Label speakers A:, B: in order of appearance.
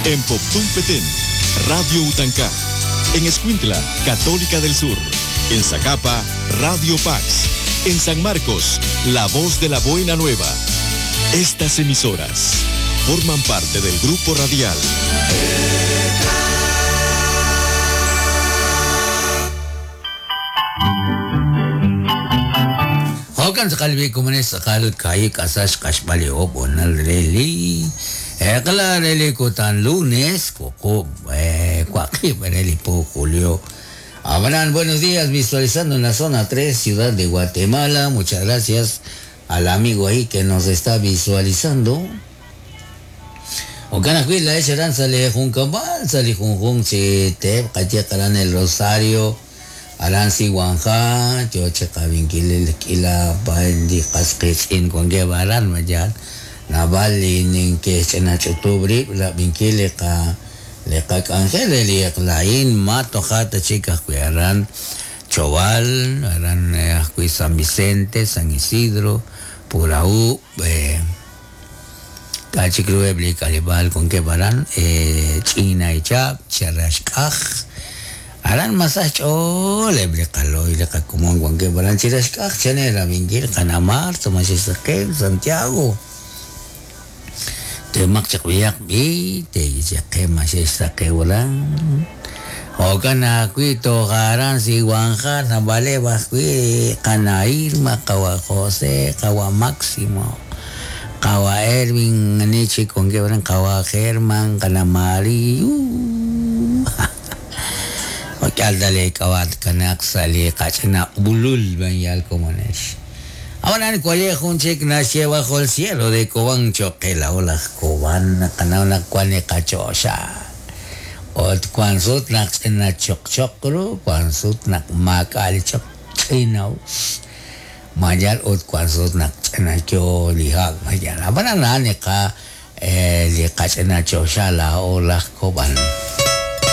A: En Poptún Petén, Radio Utancá. En Escuintla, Católica del Sur. En Zacapa, Radio Pax. En San Marcos, La Voz de la Buena Nueva. Estas emisoras forman parte del grupo radial.
B: Jo'kan tz'aqal b'i komonex tz'aqal kaahib' k'asal xq'axb'al li oob' honal re li eq'la re li kutan lunes wuqub' waqib' re li po julio. Ab'anan, buenos días, visualizando en la zona 3, Ciudad de Guatemala. Muchas gracias al amigo ahí que nos está visualizando. Jo'kan ajwi' laa'ex aran sa' lee junkab'al, sa' li junjunq chi teep qayehaq aran El Rosario, aran Siwanja, yo chi qab'inkil li k'iila paay li qas qiitz'in wankeb' aran, ma yaal? Naab'al li neke'xch'ina ch'utub' rib' rab'inkil li qa li qak'anjel re li eq'la a'in, ma toja' ta chik ajwi' aran Chobal, aran ajwi' San Vicente, San Isidro, Purahú, k'a' chik ru eb' li k'aleb'aal wankeb' aran, Ch'inaychab', Charaxk'aj, aran mas sa xch'ool eb' li qalooy li qakomon wankeb' aran Chiraxk'aj, chan rab'inkil qana' Marta, Maxixsaqen, Santiago. Teemaq chaq b'ihaq b'i, teeyichaqe maxexsaqew aran. Jo'kan ajwi' toj aran Siwanja, naab'aleb' ajwi' qana' Irma, qawa' José, qawa' Máximo, qawa' Erwin, ani chik wankeb' aran, qawa' German, qana' Mari, Jo'k'ihal ta leek'ab'a' tkanaaq sa' li qach'ina ulul b'an yal komonex. Ab'anan waye' jun chik naxye bajo el cielo de Cobán cho'q qe laa'o laj Cobán naqanaw naq wan li qachoxa. Ut wan sut naq ch'ina choqchoq ru, wan sut naq maak'a' li choq ch'ina'us. Ma yal ut wan sut naq ch'ina yo li hab' ma yal. Ab'anan a'an li qa li qach'ina choxa laa'o laj Cobán.